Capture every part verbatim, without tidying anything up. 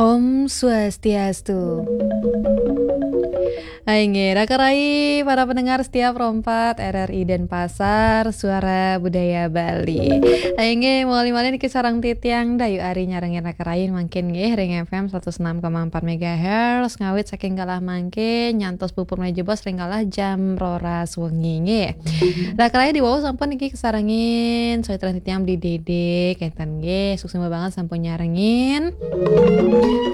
Om Swastiastu. Hai nggih, raka rai, para pendengar setia Pro empat R R I Denpasar, Suara Budaya Bali. Hai nggih, malih-malih niki sareng titiang Dayu Ari nyarengin raka rai mangkin nggih ring F M seratus enam koma empat megahertz, ngawit saking galah mangkin nyantos puput malih jebos ring galah jam roras wengi nggih. Raka rai diwau sampun niki kasarengin, soalnya titiang Beli Dede, kenten nggih, suksma banget sampun nyarengin.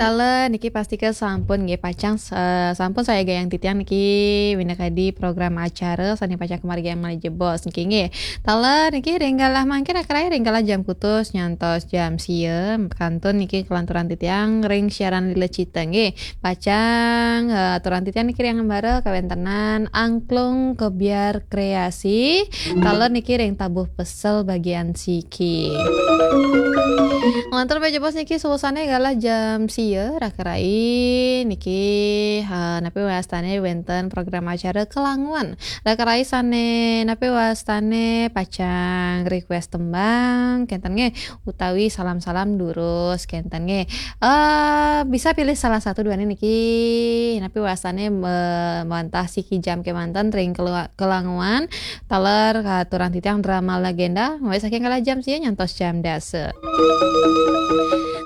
Taler niki pastika sampun nggih pacang, eh, sampun sayaga titiang niki minakadi program acara sane pacang kamargiang malih jebos niki nggih. Taler niki ring galah mangkin raka rai ring galah jam kutus nyantos jam sia kantun niki kelanturan titiang ring siaran Lila Cita nggih. Pacang, eh, aturan titiang niki ring ambara kawentenan angklung kebyar kreasi, taler niki ring tabuh pesel bagian siki. Nglantur malih jebos niki suksmane galah jam sia raka rai niki, eh, napi wastane wenten program acara kelanguan. Raka rai sane napi wastane pacang request tembang, kenten nggih, utawi salam-salam durus, kenten nggih. Eh, bisa pilih salah satu duane niki, napi wastane me-, mawantah siki jam kemanten ring kelua-, kelanguan, taler katurang titiang drama legenda, mulai saking galah jam sia nyantos jam dasa.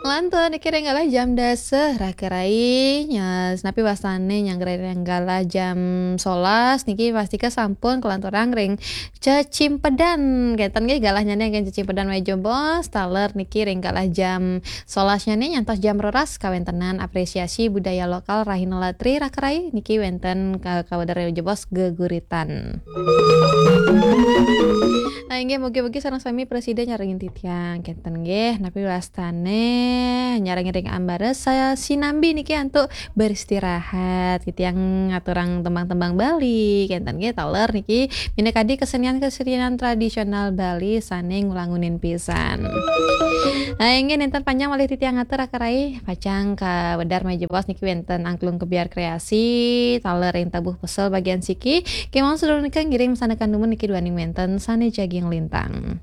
Nglantur niki ring galah jam dasa, raka rai, nya-, napi wastane nyanggra ring galah jam solas, niki pastika sampun kelanturang ring cecimpedan. Kenten nggih galahnyane nggih cecimpedan malih jebos, taler niki ring galah jam solasnyane nyantos jam roras kawentenan apresiasi budaya lokal Rahina Latri raka rai niki wenten ka-, kawedar malih jebos geguritan. Nah, inggih mugi-mugi sareng sami prasida nyarengin titiang. Kenten nggih, napi wastane nyarengin ring ambara saya sinambi niki antuk beristirahat. Titiang ngaturang tembang-tembang Bali, kenten nggih taler niki minakadi kesenian-kesenian tradisional Bali sane nglangunin pisan. Nah, inggih nenten panjang malih titiang ngatur raka rai, pacang kawedar malih jebos niki wenten angklung kebyar kreasi, taler ring tabuh pesel bagian siki, kemawon sedulur nika ngiring masandekan dumun niki duaning wenten sane jagi nglintang.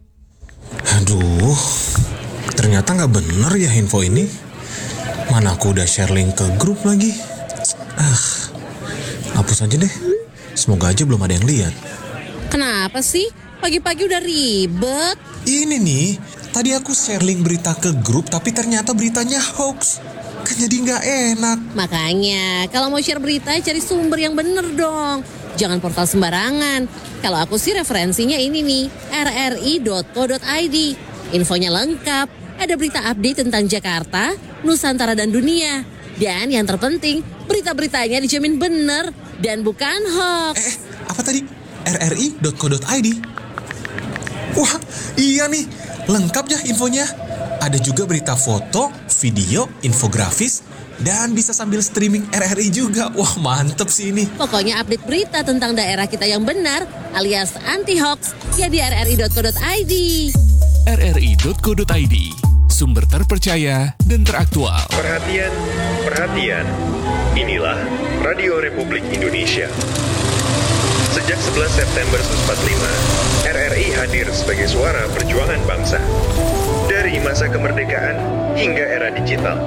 Aduh, ternyata nggak bener ya info ini. Mana aku udah share link ke grup lagi. Ah, hapus aja deh. Semoga aja belum ada yang lihat. Kenapa sih? Pagi-pagi udah ribet. Ini nih, tadi aku share link berita ke grup, tapi ternyata beritanya hoax. Kan jadi nggak enak. Makanya, kalau mau share berita, cari sumber yang bener dong. Jangan portal sembarangan. Kalau aku sih referensinya ini nih, R R I dot co dot I D. Infonya lengkap. Ada berita update tentang Jakarta, Nusantara dan dunia. Dan yang terpenting, berita-beritanya dijamin bener dan bukan hoax. Eh, eh, apa tadi? R R I dot co dot I D. Wah, iya nih, lengkap ya infonya. Ada juga berita foto, video, infografis, dan bisa sambil streaming R R I juga. Wah, mantep sih ini. Pokoknya update berita tentang daerah kita yang benar alias anti hoax ya di R R I dot co dot I D. R R I dot co dot I D, sumber terpercaya dan teraktual. Perhatian, perhatian. Inilah Radio Republik Indonesia. Sejak sebelas September seribu sembilan ratus empat puluh lima, R R I hadir sebagai suara perjuangan bangsa. Dari masa kemerdekaan hingga era digital.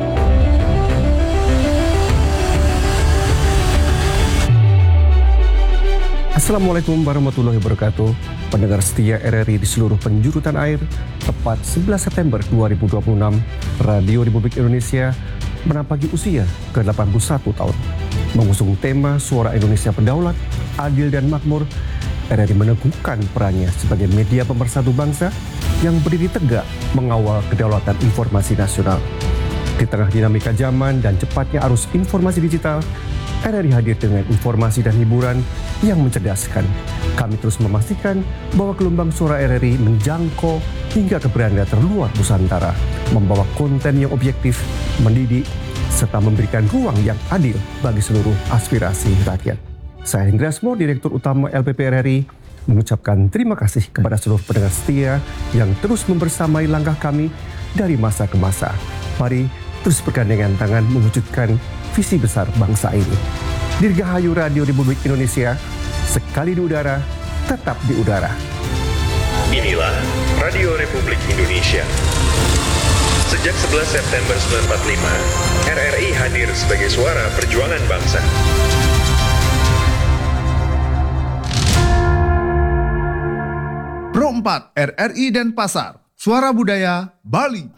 Assalamualaikum warahmatullahi wabarakatuh. Pendengar setia R R I di seluruh penjuru tanah air, tepat sebelas September dua ribu dua puluh enam, Radio Republik Indonesia menampaki usia ke delapan puluh satu tahun. Mengusung tema Suara Indonesia Berdaulat, Adil dan Makmur, R R I meneguhkan perannya sebagai media pemersatu bangsa yang berdiri tegak mengawal kedaulatan informasi nasional. Di tengah dinamika zaman dan cepatnya arus informasi digital, R R I hadir dengan informasi dan hiburan yang mencerdaskan. Kami terus memastikan bahwa gelombang suara R R I menjangkau hingga ke beranda terluar Nusantara, membawa konten yang objektif, mendidik, serta memberikan ruang yang adil bagi seluruh aspirasi rakyat. Saya Hendra Asmor, Direktur Utama L P P R R I, mengucapkan terima kasih kepada seluruh pendengar setia yang terus membersamai langkah kami dari masa ke masa. Mari terus bergandengan tangan mewujudkan visi besar bangsa ini. Dirgahayu Radio Republik Indonesia, sekali di udara, tetap di udara. Inilah Radio Republik Indonesia. Sejak sebelas September sembilan empat lima, R R I hadir sebagai suara perjuangan bangsa. Pro empat R R I Denpasar, Suara Budaya Bali.